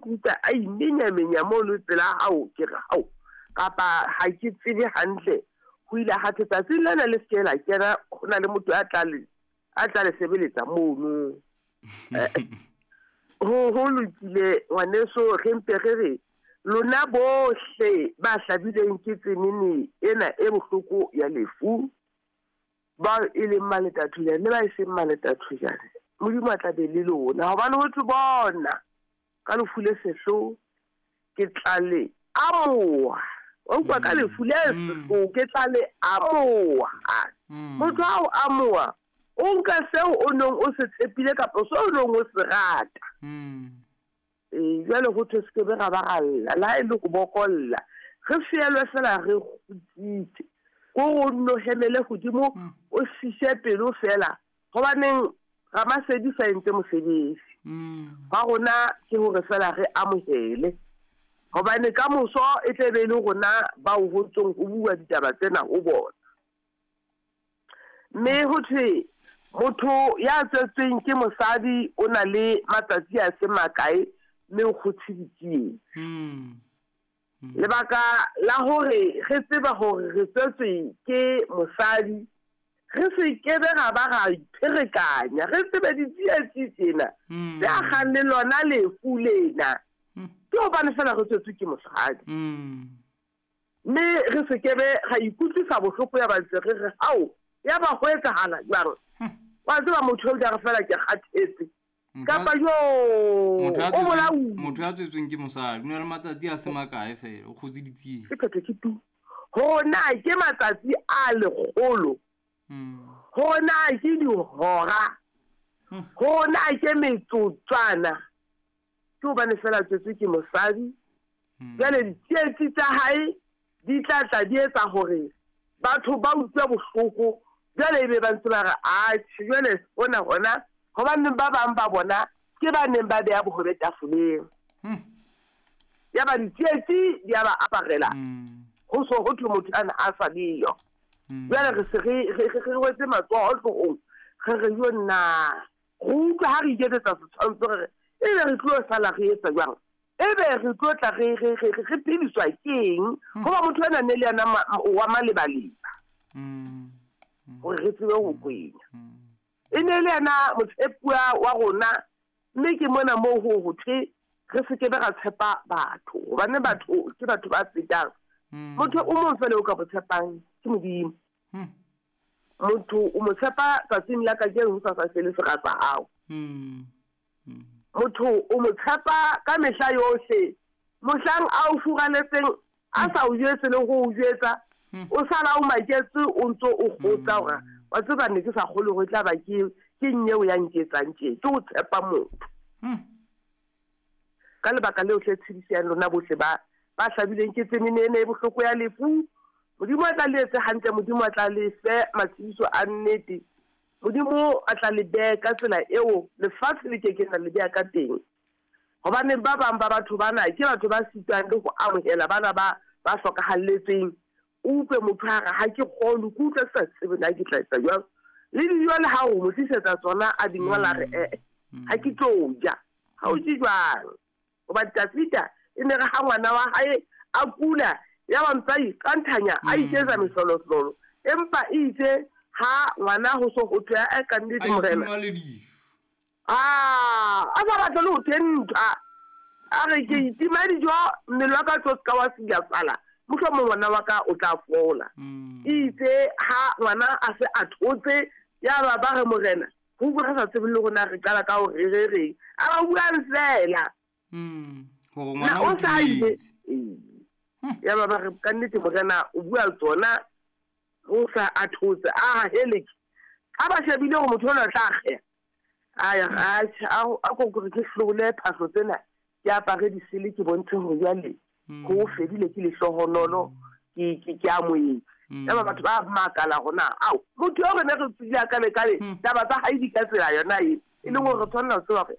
Ke utlwa a imenyamenya mono pela hao, ke re hao, kapa ha ke tsebe hantle. Ho ile ha thwe tsatsing lena le se ke la kena, ho na le motho a tla le, a tla le sebeletsa mono. Ho, ho lokile ngwaneso, re mpe re re lona bohle ba hlabilweng ke tsenene ena e bohloko ya lefu, bao e leng maletathojane le ba e seng maletathojane, Modimo a tla be le lona, hobane ho thwe bona ka lefu le sehloho ke tla le amoha. Wa utlwa, ka lefu le sehloho ke tla le amoha. Motho ha o amoha, o nka seo o neng o se tshepile kapa seo o neng o se rata. Ee, jwale ho thwe se ke be ra ba ra lla, le ha e le ho bokolla, re feelwe fela re kgutsitse. Ko re o nno hemele hodimo, o sise pelo fela, hobaneng Ramasedi sa entse mosebetsi. Wa rona ke hore fela re amohele, hobane ka moso e tle be e le rona bao ho ntsong ho bua ditaba tsena ho bona. Mme ho thwe motho ya tswetsweng ke mosadi o na le matsatsi a se makae mme o kgothe ditsietsi. Lebaka la hore re tseba hore re tswetswe ke mosadi, re se ke be ra ba ra ipherekanya, re tsebe ditsietsi tsena tse akgang le lona lefu lena, ke hobane fela re tswetswe ke mosadi. Mme re se ke be ra ikutlwisa bohloko ya ba ntse re re, Hao, ya ba ho etsahala jwang? Wa tseba motho eo ja re fela ke kgathetse. Kapa jo, o bolauwe. Motho ya tswetsweng ke mosadi o na le matsatsi a se makae fela, o kgotse ditsietsi. Ke phetho ke tu. Hore na ke matsatsi a lekgolo, hore na ke dihora, hore na ke metsotswana, ke hobane fela tswetswe ke mosadi. Jwale ditsietsi tsa hae di tla tla di etsa hore batho ba utlwe bohloko. Jwale ebe ba ntse ba re, atjhe, jwale hona hona, hobaneng ba bang ba bona ke ba neng ba beha bohobe tafoleng. Yaba ditsietsi di a ba aparela, ho so ho thwe motho ana a sa leyo. Jwale re se re, re, re, re rwetse matsoho hloohong, re re yo nna. Re utlwa ha re iketsetsa setshwantsho, re re, ebe re tlo sala re etsa jwang? Ebe re tlo tla re, re, re, re phediswa ke eng? Hoba motho ena ne le yena wa malebaleba. Hore re tsebe ho kwenya. E ne le yena motshepuwa wa rona, mme ke mona moo ho ho thwe re se ke be ra tshepa batho, hobane batho ke batho ba fetang. Motho o mong fela o ka mo tshepang ke Modimo. Motho o mo tshepa tsatsing la kajeno, ho sa sa sele sera sa hao. Motho o mo tshepa ka mehla yohle, mohlang a o furaletseng, a sa o jwetse le ho o jwetsa, o sala o maketse, o ntso o kgotsa hore wa tseba ne ke sa kgolwe hore e tla ba ke, ke nyeo ya nketsang tje, ke ho tshepa motho. Ka lebaka leo hle tshedisang lona bohle ba, ba hlabilweng ke tsenene ena e bohloko ya lefu. Modimo a tla le etse hantle, Modimo a tla le fe matshediso a nnete. Modimo a tla le behe ka tsela eo lefatshe le ke keng la le beha ka teng. Hobane ba bang ba batho bana ke batho ba sitwang le ho amohela bana ba, ba hlokahalletsweng. O utlwe motho a re, ha ke kgolwe, ke utlwa ke sa tsebe na ke tla etsa jwang. Le dijo le ha o mo tlisetsa tsona a di ngola, re, eh, ha ke tlo ja. Ha o je jwang? Hoba Dafida e ne re ha ngwana wa hae a kula, ya ba ntse a iqanthanya, a iketsa mehlolohlolo. Empa eitse ha ngwana ho so ho thwe, eh, ka nnete Morena. A itima le dijo. Ah, a sa batle le ho thwe ntwa. A re, ke itima dijo, mmele wa ka tlo seka wa silafala, mohlomong ngwana wa ka o tla fola. Eitse ha ngwana a se a thotse, ya ba ba re, Morena, ho utlwa re sa tsebe le rona re qala ka hore re reng. A ba buang fela. Hore Na ngwana o o sa ile. timetse. Ya ba ba re, ka nnete Morena o bua tsona, o sa a thotse. A heleke. Ha ba shebile hore motho ona o tla akgeha. A ya, a tjhe, a, a ko re ke hlobole phahlo tsena, ke apare disele, ke bontshe hore jwale ho fedile, ke lehlohonolo, ke, ke, ke amohetse. Ya ba batho ba makala hore na, ao, motho eo re ne re tsebile a kale kale, taba tsa hae di ka tsela yona e, e leng hore re tshwanela ho tseba hore